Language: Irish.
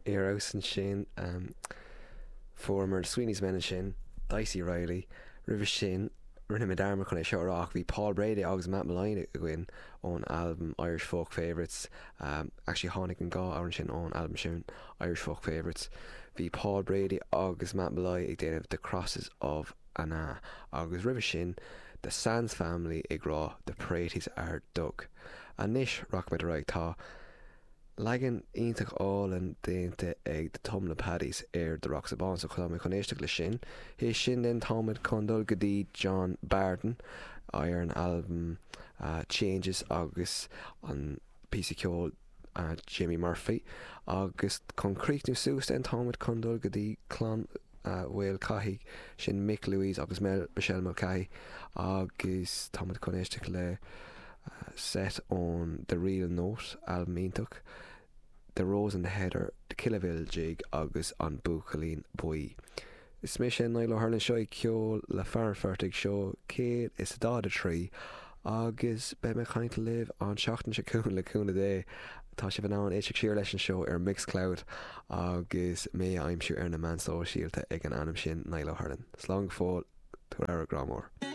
Ar fheabhas ansin. Fuaireamar Sweeney's Men ansin, Dicey Reilly. Roimhe sin, rinne mé dearmad chun é seo a rá ach bhí Paul Brady agus Matt Molloy againn ón albam Irish Folk Favourites. Actually tháinig an dá amhrán sin ón albam sin, Irish Folk Favourites. Bhí Paul Brady agus Matt Molloy ag déanamh The Crosses of Annagh agus roimhe sin The Sands Family ag rá The Praties Are Dug. Anois rachaimid ar aghaidh. Tá. Leagan iontach álainn déanta ag The Tummla Paddies ar The Rocks of Bawn so tá mé chun éisteacht leis sin. Théis sin then táimid chun dul go dtí John Barden ar an albam Changes agus an píosa ceoil Jimmy Murphy agus chun críochnú suas then táimid chun dul go dtí Clann Mhaolchathaigh, sin Mick Louise agus Michelle Mulcahy agus táimid chun éisteacht le set ón The Reel Note, albam iontach, The Rose and the Heather, The Killavil Jig agus An Buachaillín Buí. Is mise Niall Ó hUrlain seo é Ceol le Fear an Phortaigh, seó 143 agus beidh mé ag caint libh an tseachtain seo chugainn le cúnamh Dé. Tá sibh in ann éisteacht siar leis an seó ar Mixcloud agus mé a aimsiú ar na meáin sóisialta ag an ainm sin, Niall Ó hUrlain. Slán go fóill, tabhair aire, grá mór.